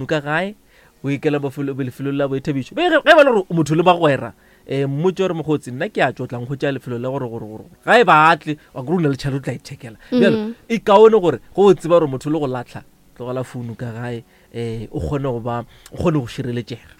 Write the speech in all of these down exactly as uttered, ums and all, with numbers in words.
Ka gae o ikela lefelong la boithabišo, ge e ba le gore motho le bagwera, um mmotse gore mokgotsi nna ke a tšo tlang go tšea lefelo la gore gore gore ga e batle wa kore o na le tšhelete o tla ithekela. Bjalo e kaone gore go o tseba gore motho le go latlha, tlogela founu ka gae, um o kgone go ba o kgone go šireletšega.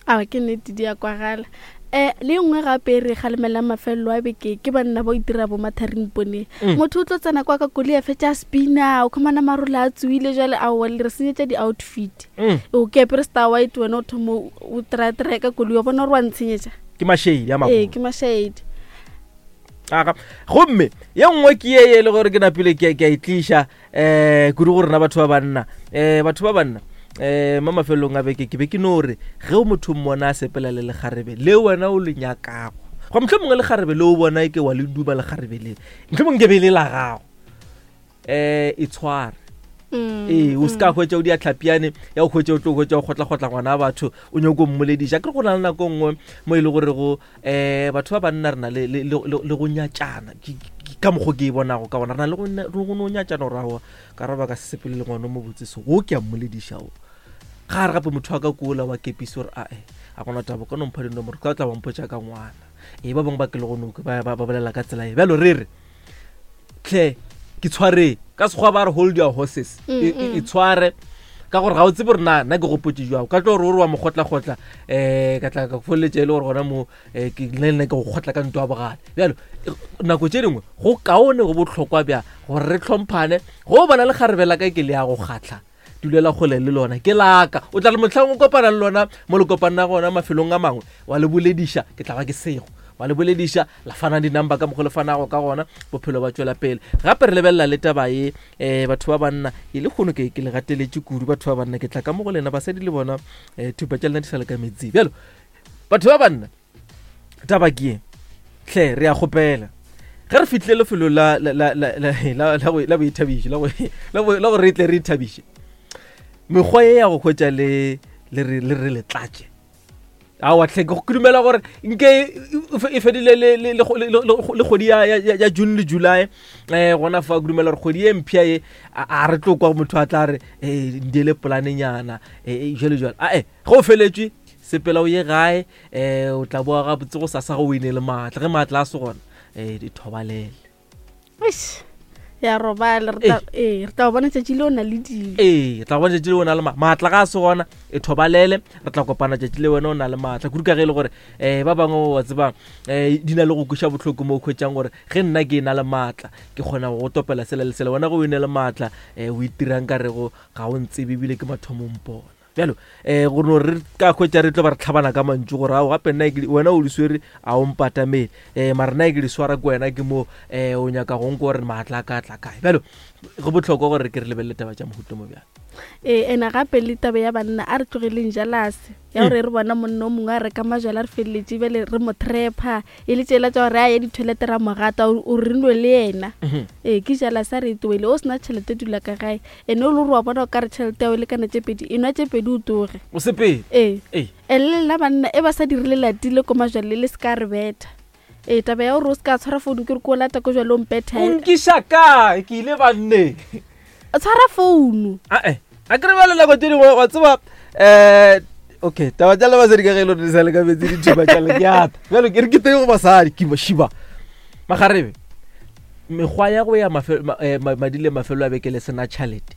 A ke nnete, di a kwagala. um le nngwe gape re kgalemelang mafelelo a beke ke banna ba o itira bo matharing poneng. Motho o tlo tsena kwa ka koloi a fetša spina, o khumana marole a tsoile. Jale aowa, le re senyetša di-outfit. O ke apere star white, wena o thomo o try-try ka koloi, wa bona gore wa ntshenyetša. Ke mašedi a ee, ke mašedi. Aga, gomme ye nngwe ke ye e le gore ke napile ke a e tliša um kudu go rena batho ba banna, um batho ba banna, um mo mafelelong a beke ke be ke no re ge o motho mmona a sepela le lekgarebe le wena o le nyakago, go motlho mongwe lekgarebe le o bona e ke wa le duma lekgarebe le, motlho mongwe ke be le la gago, um e tshware. Ee, o se ka hwetša o dia tlhapiane ya go hwetša o tlo hwetša o kgotlakgotla ngwana wa batho o nyako mmolediša. Ke re go na le nako nngwe mo e le gore go um batho ba banna re na le go nyatšana, ka mokgwa ke e bonago ka gona, re na le go no nyatšana gore aowa ka re ba ka se sepele le ngwana o mo botse se go ke a mmolediša o ga re gape motho wa ka kola wa kepise gore ae a gona taba ka no mpha dinomoro ka tla bampotša ka ngwana. Ee, ba bangwe ba ke le go noke ba bolela ka tsela e bjalo. Re re tlhe ke tshwareng ka sekgwa ba re hold your horses, e tshware ka gore ga o tsebe gore na nna ke gopotse jwang ka tlo gore ore wa mokgotlakgotla um ka tla ka feleletša e le gore gona mo um ke le nna ke go kgotla ka ntwa bogale. Bjalo nako tše dingwe go kaone, go bohlokwa bja gore re tlhomphane. Go bona le kgarebe la ka ke le ya go kgatlha, dulela kgole le lona, ke laka o tla re motlhang o kopana le lona mo le kopana gona mafelong a mangwe wa le bolediša, ke tla ba ke sego wa le bolediša la fana di-number ka mokgwa le fanago ka gona, bophelo ba tšwela pele. Gape re lebelela le taba ye, um batho ba banna e le kgono ke le gateletše kudu batho ba banna, ke tla ka mo go lena basadi le bona um thupa tša lena di sa le ka metsing. Bjalo batho ba banna taba ke ye hle, re a kgopela ge re fihlile lefelo la boithabišo la gore re tle re ithabiše, mekgwa ye ya go hwetša le le re le tlatše aowa tlhe ke dumela gore nke e fedile le kgwedi ya June le July um gona fa ke dumela gore kgwedi ye mpšha ye a re tlo kwa motho a tla re um ndiele polanenyana jalo jalo. Ae, ge o feletšwe sepela o ye gae, um o tla boa gabotse go sasa go o ine le maatla. Ge maatla a se gona, um di thobalele. Ya robala, ee, re tla go bona tšatši le o na le dilo. Ee, re tla go bona tšatši le o na le maatla. Ga a se gona e thobalele, re tla kopana tšatši le wena o na le maatla kudu, ka ge e le gore um ba bangwe wa tseba um di na le go kweša bohloko mo o hwetšang gore ge nna ke na le maatla ke kgona go topela sela le sela, wena ge o ene le maatla um o itirang ka rego ga o ntsebe ebile ke mathomo mpona. Bjalo um gore no re ka hwetša re tlo ba re tlhabana ka mantšu gore ao gape nna wena o di swere a o mpatamele, um mara nna ke di swara ke wena ke mo um o nyaka go nko gore maatla a ka tla kae. Bjalo go bohlokwa gore ke re lebelele taba tša mohuta mo bjalo. Ee, ena gape le taba ya banna, a re tlogeleng jalase ya gore re bona monna o mongwe a reka majwala re feleletše bjale re mo trepa e le tsela tša gore a ye di-toilet ra mo gata o re nwe le yena. Ee, ke jalase, a re e tloele. O sena tšhelete dula ka gae, ene o le gore wa bona o ka re tšhelete ya o lekana tše pedi, e nwa tše pedi o tloge o sepele. Ee, ene le lena banna e ba sa dirile latile ko majwale le se ka re betha. Ee, taba ya gore o se ka tshwara founu ke re ko o lata ko jwale o mpetha. O nkiša kae ke ile banne? Tshwara founu. Ae, a kere bjale nako tše dingwe wa tseba um okay taba tša le basadi ka ge e le gore di sa le ka metsi dithupa tša le ke ata. Bjalo ke re ke teng go basadi ke šiba magarebe mekgwa ya go ya madi le mafelo a beke le sena tšhalete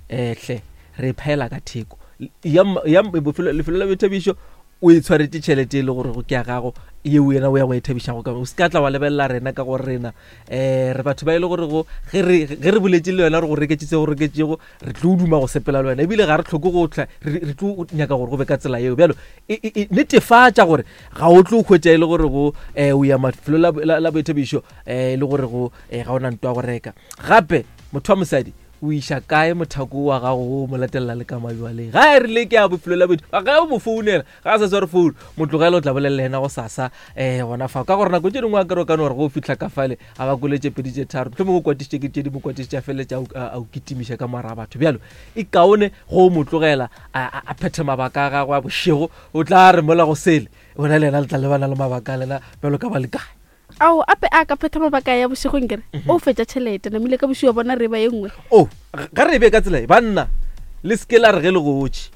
um hle re phela ka theko ya lefelo la boithabišo o e tshwaretse tšhelete e le gore ke ya gago yeo yena o ya go e thabišago ka o se ka tla wa lebelela rena ka gore rena um re batho ba e le gore go ge re boletse le wena re go reketse se go reketšego re tlo duma go sepela le wena ebile ga re tlhoke go tla re tlo nyaka gore go be ka tsela yeo. Bjalo netefatša gore ga o tlo hwetša e le gore go um o ya mafelo la boithabišo um e le gore go ga o na ntwa go reka. Gape motho wa mosadi o iša kae mothako wa gago o mo latelela le ka mabjaleng ga e rile ke a bofelo la boithabišo ga o mo founela ga a sa sware founu motlogele o tla bolelela yena go sasa um gona fao ka gore nako tše dingwe a kere o ka no gore go fihla ka fale a ba koletse pedi tše tharo mohlomongwe o kwatišitše ke tše di mo kwatišitše a feleletše a o kitimiša ka moara batho. Bjalo e kaone go mo tlogela a phethe mabaka a gagwe a bošego, o tla re mola go sele wena le yena le tla lebana le mabaka a lena bjalo ka ba le kae. Ao ape a ka phetha mabaka ya bošegong kere o fetša tšhelete namile ka bošego bona re ba ye nngwe. O ga re be ka tsela e banna Le seke la re ge le gotše.